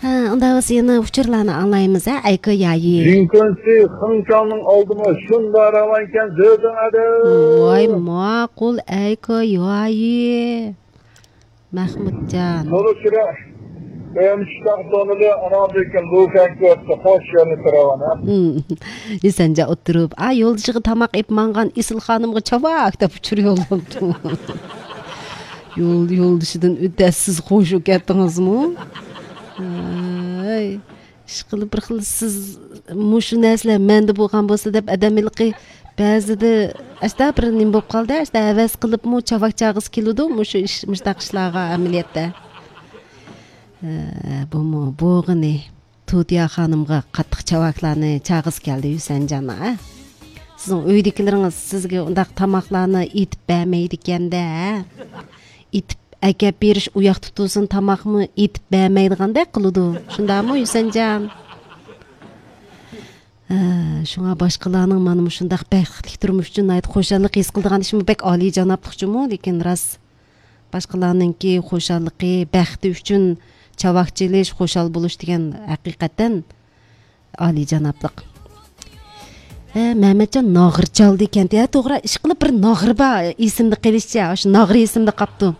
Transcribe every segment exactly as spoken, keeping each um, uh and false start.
ھە، ئۇنداق بولسا يەنە ئۇچۇرلارنى ئاڭلايمىز، ھە، ئەيكۆ يايى. جىنكۆنسى خېڭچاڭنىڭ ئالدىمۇ شۇنداق راۋانكەن زۆزۈڭ ئەدە. ۋاي، ماقۇل، ئەيكۆ يايى. مەخمۇتجان. تولۇشرا ئۆمۈچۈكلەر تونىلى، ئاناڭدىن كېيىن لۇكەن كۆرسە خوش يەرنى تۇرۇۋانا. ھىم. يۈسەنجان ئولتۇرۇپ، ئا، يولدىشىغا تاماق ئېلىپ ماڭغان ئېسىل خانىمغا چاۋاك دەپ ئۇچۇر يوللاپتۇ. يول، يولدىشىدىن ئۆتەسىز خوش بولۇپ كەتتىڭىزمۇ؟ ھەي. ئىشقىلىپ بىر خىل سىز مۇشۇ نەرسىلەر مەندە بولغان بولسا دەپ ئادەم ھېلىقى بەزىدە ئاشتا بىر نېمە بولۇپ قالدى، ئاشتا ھەۋەس قىلىپمۇ چاۋاك چاغىسى كېلىدۇ، مۇشۇ ئىش، مۇشۇنداق ئىشلارغا ئەمەلىيەتتە. ھە، بۇمۇ بولغىنى. تۇتىيا خانىمغا قاتتىق چاۋاكلارنى چاغىسى كەلدى، ھۈسەنجان، ھە؟ سىزنىڭ ئۆيدىكىلىرىڭىز سىزگە ئۇنداق تاماقلارنى ئېتىپ بەرمەيدىكەن-دە، ھە؟ ئېتىپ ئەكەپ بېرىش ئۇياقتا تۇرسۇن، تاماقمۇ ئېتىپ بەرمەيدىغاندەك قىلىدۇ. شۇنداقمۇ، ھۈسەنجان؟ ھە، شۇڭا باشقىلارنىڭ مانا مۇشۇنداق بەختلىك تۇرمۇش ئۈچۈن ناھايىتى خۇشاللىق ھېس قىلىدىغان ئىشىمۇ بەك ئالىيجانابلىقچۇمۇ، لېكىن راست. باشقىلارنىڭكى خۇشاللىقى، بەختى ئۈچۈن چاۋاك چېلىش، خۇشال بولۇش دېگەن ھەقىقەتەن ئالىيجانابلىق. ھە، مەمەتجان ناغرا چالدى كەنتى. ھە، توغرا، ئىشقىلىپ بىر ناغرا بار، ئېسىمدە قېلىشىچە، شۇ ناغرا ئېسىمدە قاپتۇ.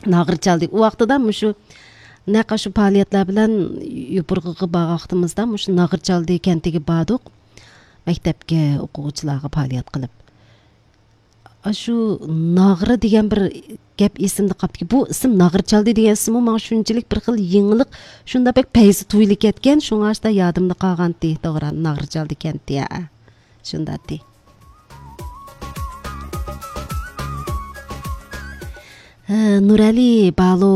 ناغرا چالدى. ئۇ ۋاقتىدا مۇشۇ نەق شۇ پائالىيەتلەر بىلەن يوپۇرغىغا بارغان ۋاقتىمىزدا مۇشۇ ناغرا چالدى كەنتىگە باردۇق. مەكتەپكە ئوقۇغۇچىلارغا پائالىيەت قىلىپ. ئاشۇ ناغرا دېگەن بىر گەپ ئېسىمدە قاپتىكەن. بۇ ئىسىم ناغرا چالدى دېگەن ئىسىممۇ ماڭا شۇنچىلىك بىر خىل يېڭىلىق، شۇنداق بەك پەيزى تۇيۇلۇپ كەتكەن، شۇڭا شۇنداق يادىمدا قالغانتى. توغرا، ناغرا چالدى كەنتى، ھە. شۇنداقتى. ھە، نۇرئەلى بالوزەن،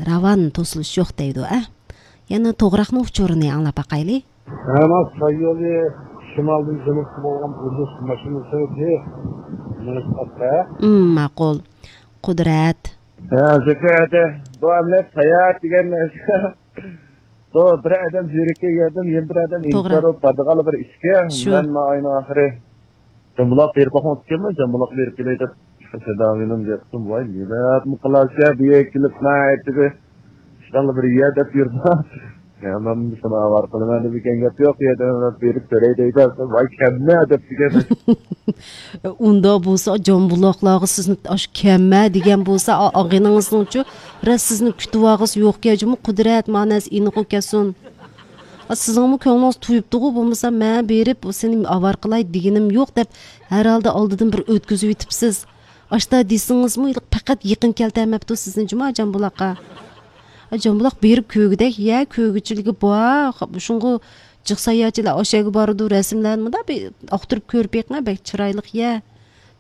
راۋان توسۇلۇش يوق دەيدۇ، ئە. يەنە توغراقنىڭ ئۇچۇرىنى ئاڭلاپ باقايلى. ھەمە سايولى شىمالدىن جەنۇبقا بولغان بۇرۇلۇش ماشىنىسى مېنىڭ ئاتتا. ئىم، ماقۇل. قۇدرەت. ھە، زۆھرەدە بۇ ئەمەلىيەت ساياھەت دېگەن نەرسە. بۇ بىر ئادەم زېرىككەن يەردىن يەنە بىر ئادەم توغرا. ئىنتىزار بولۇپ بارىدىغانلا بىر ئىشكەن. شۇ. مەن مانا ئاينىڭ ئاخىرى جامبۇلاق بېرىپ باقماقچىكەنمەن، جامبۇلاق بېرىپ كېلەي دەپ. سەدامىنىڭ گەپتىن ۋاي نېمە قىلارسىز بۇ يەرگە كېلىپ مەن ئېيتتى. ئىشتانلا بىر يەر دەپ يۈرمە. يا، مەن شۇنى ئاۋارە قىلىمەن دېگەن گەپ يوق، يەردە بېرىپ كۆرەي دەيدۇ. ۋاي كەممە دەپ دېگەن. ئۇنداق بولسا جامبۇلاقلارغا سىزنى ئاشۇ كەممە دېگەن بولسا، ئا-، ئاغىنىڭىزنىڭچۇ، راست سىزنى كۈتۈۋالغۇسى يوقكەن جۇمۇ، قۇدرەت مانەسى ئېنىقۇ كەتسۇن. ئا، سىزنىڭمۇ كۆڭلىڭىز تويۇپتۇغۇ، بولمىسا مەن بېرىپ سېنى ئاۋارە قىلاي دېگىنىم يوق دەپ، ھەر ھالدا ئالدىدىن بىر ئۆتكۈزۈۋېتىپسىز. ئاشتا دېسىڭىزمۇ، پەقەت يېقىن كەلتۈرمەپتۇ سىزنى جۇما جامبۇلاققا. ئا، جامبۇلاق بېرىپ كۆرگۈدەك يەر، كۆرگۈچىلىكى بار. شۇڭغۇ جىق ساياھەتچىلەر ئاشۇ يەرگە بارىدۇ، رەسىملەرنى مۇنداق بىر ئاختۇرۇپ كۆرۈپ بېقىڭە، بەك چىرايلىق يەر.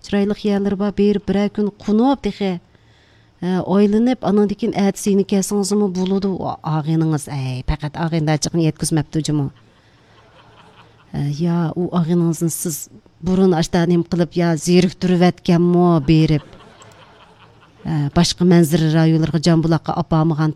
چىرايلىق يەرلىرى بار، بېرىپ بىرەر كۈن قونۇپ تېخى. ھە، ئايلىنىپ، ئانىڭدىن كېيىن ئەتىسى يەنە كەلسىڭىزمۇ بولىدۇ. ئا-، ئاغىنىڭىز، ئەي، پەقەت ئاغىنىدارچىلىقىنى يەتكۈزمەپتۇ جۇمۇ. ھە، يا، ئۇ ئاغىنىڭىزنى سىز بۇرۇن ئاشتا نېمە قىلىپ، يا زېرىكتۈرۈۋەتكەنمۇ بېرىپ؟ ھە، باشقا مەنزىرە رايونلىرىغا جامبۇلاققا ئاپارمىغان